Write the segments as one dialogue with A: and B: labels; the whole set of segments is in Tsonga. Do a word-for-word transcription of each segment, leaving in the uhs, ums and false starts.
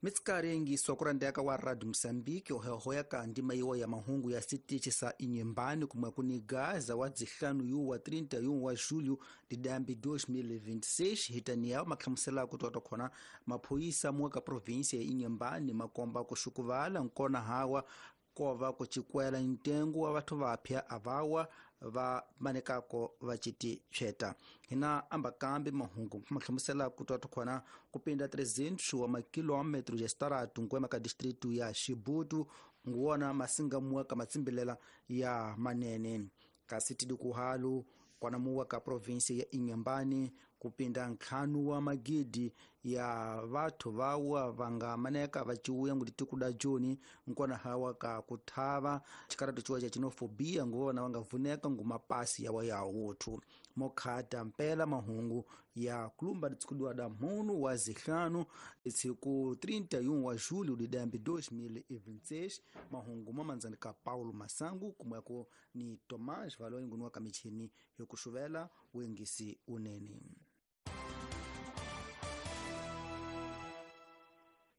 A: Mitsikarengi sokurandeka wa Radio Mozambique ohehoya ka ndima iwo ya mahungu ya sitichi sa Inhambane kumwe kuni Gaza wa zihlanu yu wa trinta e um wa julho de dambi dois mil e vinte e seis hitaniel makhamusela kutoka khona maphoyisa muka província ya Inhambane makomba kushukuvala nkona hawa kova kuchikwela ntengo wa vathu vapya avawa va manekako va chiti cheta hina ambakambi mahungu mahlamusela kutoka khona kupinda trezentos wa makilometro ya staratu nkwema ka distrito ya Chibuto nguona masinga muka matsimbilela ya manene kasi tidikuhalu kwana muwa ka província ya Inhambane kupinda nkhanu wa magidi ya vathu vawa vanga maneka vachiuya ngutikuda joni nkona hawa ka kuthava chikaratu chiwa cha xenofobia nguvona vanga vuneka ngumapasi yawa ya uthu mokhata mpela mahungu ya kulumba tsikudwa da munu wa zihlanu tsiku trinta e um wa julho de dambi dois mil e vinte e seis mahungu mamanzani ka Paulo Masangu kumweko ni Tomás Valoi ngunuwa kamichini yokushuvela wengisi unene.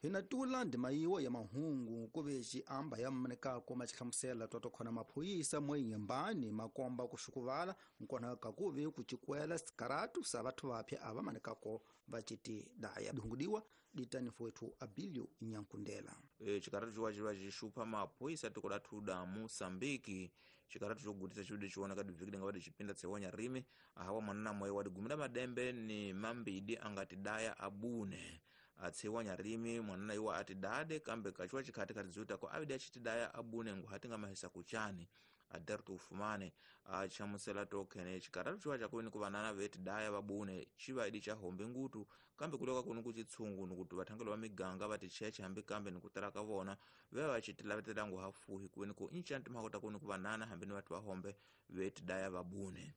A: Hinatula ndima iwo ya mahungu kuveji amba ya mmaneka koma chihlamusela toto khona maphoyisa mwe Inhambane makomba kushukuvala nkona kakuve kuchikwela sikaratu sa vathu vapya ava manekako vachiti daya dungudiwa ditanifu wetu Abilio Nyankundela.
B: E, chikaratu chiwa chiwa chixupha maphoyisa tiko la thuda Moçambique chikaratu chogutisa chudi chiwoneka dibvikile nga wadi chipinda tsewonya rimi ahawa mwanana moyo wadigumira madembe ni mambidi angati daya abune atsewanya rimi mwanana iwa ati dade kambe kachiwa chikhati khati ziutako avidi achiti daya abune nguhati nga mahisa kuchani aderto ufumane achamusela tokhene chikaratu chiwa chakuini kuvanana veti daya vabune chiva idi chahombe ngutu kambe kuloka kunu kuchitsungu nikuti vathangelo va miganga vati cheche hambi kambe nikutala ka vona veva vachitilavetela ngu hafuhi kuini ku inchanti mhakota kuni kuvanana hambi ni vatu vahombe veti daya vabune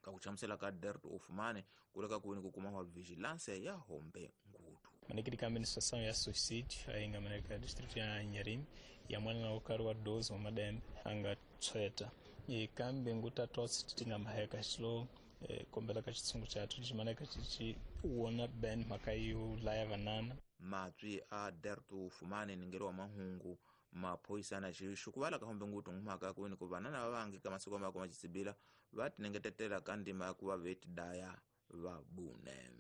B: kakuchamusela ka derto ufumane kuleka kuini kukuma wa vigilance ya hombe ngutu.
C: Manekiri ka administração ya suicídio aí nga maneka distrito ya Inharime ya mwana na ukaru wa doze wa madembe anga tsweta e kambe nguta tosi tinga maheka xilo e, kombela ka xitsungu xathu ximaneka xichi wona ben mhaka yo laya vanana
B: matswi a derto ufumane ningelo wa mahungu maphoyisa na xixukuvala ka hombe ngutu ngumhaka kuini ku vanana va vangi ka masiku mako machisibila va tinengetetela ka ndima ya ku va veti daya vabune.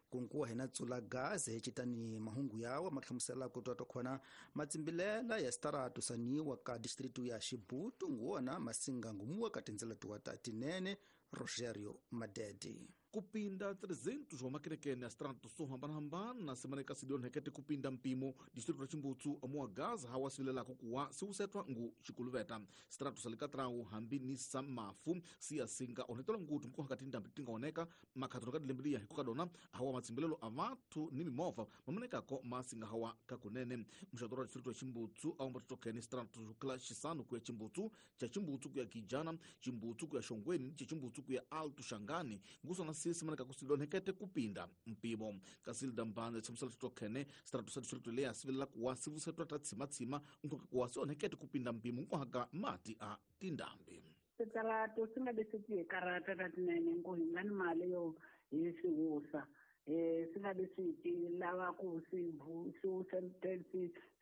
A: Kunkuwa hina tsula gaze hechitani mahungu yawa mahlamusela kutoto khona matsimbilela ya staratu saniwa ka distrito ya Chibuto nguona masinga ngumuwa ka tindzela tuwa ta tinene Rogério Madede.
D: Kupinda trezentos wa makerekene ya strato so hambanahambana simaneka sidionhekete kupinda mpimo distrito la Chimbutsu amuwa Gaza hawasivilelako kuwa siusetwa ngu xikuluveta strato salikatrau hambi ni sa mafu siyasinga onetola ngutu mkohaka tindambi tingaoneka makhatano ka dilembiliya hikukadona hawa matsimbilelo a vathu ni mimova mamanekako masinga hawa kakunene mxadoro wa distrito ya Chimbutsu aomba totokene strato kila xisanu kuya Chimbutsu cha Chimbutsu kuya Kijana Chimbutsu kuya Xongweni cha Chimbutsu kuya Alto Xangani ngusona sisi maneka kusilonhekete kupinda mpimo kasilda mbanze chamusela titokhene strato sa distrito leya sivilela kuwa sivusetwa ta tsimatsima nkhoka kuwa sionhekete kupinda mpimo nkohaka mati a tindambi
E: sitarato singabe sithi karata tatinene nku hi nga ni mali yo hi siwusa eh singabe sithi lava ku sivu siwusa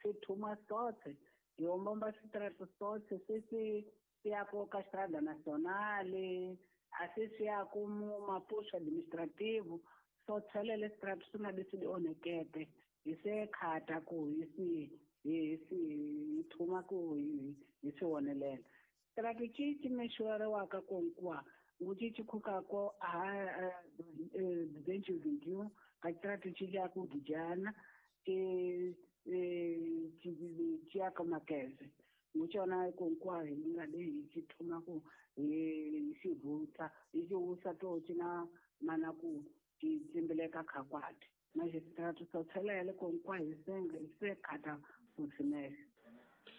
E: si thuma sotse yombomba sitarato sotse sisi siyako ka Estrada Nacional asisi ya kumu mapuso administrativo so tshelele strato singabe sidionekete isekhata ku isi isi thuma ku isiwonelela strato chichi meshwara waka konkwa nguchichi khukako a duzentos e vinte e um ka strato chichi aku Gijana e chiaka makeze nguchona konkwa ingade ichithuma ku isivuta isiusa to china mana ku chitsimbeleka khakwati magistrato sothelele konkwa isenga isekhata fusimele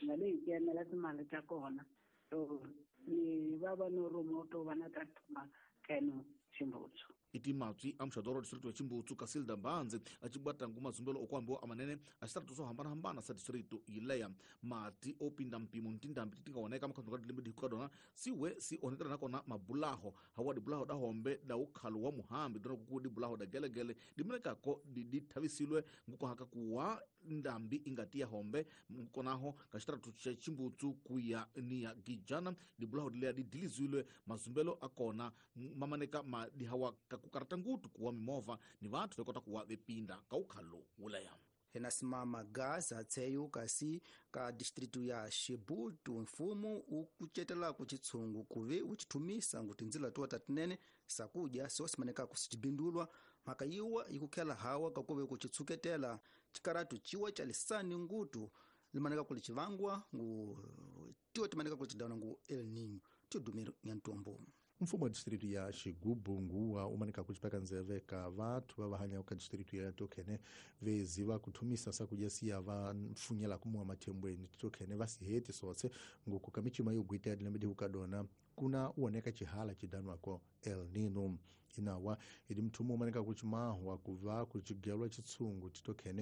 E: ngale ikemela timali ta kona to ni va va no rumo to va na ta thuma keno Chimbutsu.
D: Iti matswi a muxadoro wa distrito ya Chimbutsu Casilda Mbanzi a cibwata ngu mazumbelo okwambiwa amanene a xitaratu swo hambanahambana sa distrito yileya. Mati o pinda mpimo ni tindhambi ti nga oneka makhandu ka dilembe dihikuka dona siwe si onekela nakona mabulaho hawa dibulaho da hombe da ukhalo wa muhambi dona kuku dibulaho da gelegele dimenekako dithavisilwe ngukohaka kuwa ndambi ingati ya hombe nkonaho ka xitaratu xa Chimbutsu kuya ni ya Gijana dibulaho dileya didilizilwe mazumbelo akona mamaneka madihawa kakukarata ngutu kuwa mimovha ni vathu vekota kuwa vepinda ka ukhalo wuleya.
A: Enasimama gaza tseyo kasi ka distritu ya Xibutu mfumo ukucetela kuchitsungu kuve uchithumisa ngu tindzila tuwa tatinene sakudya sosimaneka kusicibindulwa mhaka yiwa ikukhela hawa kakuve kuchitsuketela chikaratu chiwa cha lisani ngutu limaneka kuli chivangwa ngu tiwa timaneka kuli chidana ngu El Niño tidumiro nyantombo.
F: Mfumo wa distrito ya Xigubu nguwa umanika kuchipaka nzeve ka vathu va vahanya ka distrito ya tokhene veziva kuthumisa sakudya siya va mfunyela kumuwa mathembweni tokhene va siheti sotse nguku ka michima yo gwita ya dilembe dihukadona kuna uoneka chihala chidanwako El Nino. Inawa ili mthumu umanika kuchimahwa kuva kuchigelwa chitsungu titokhene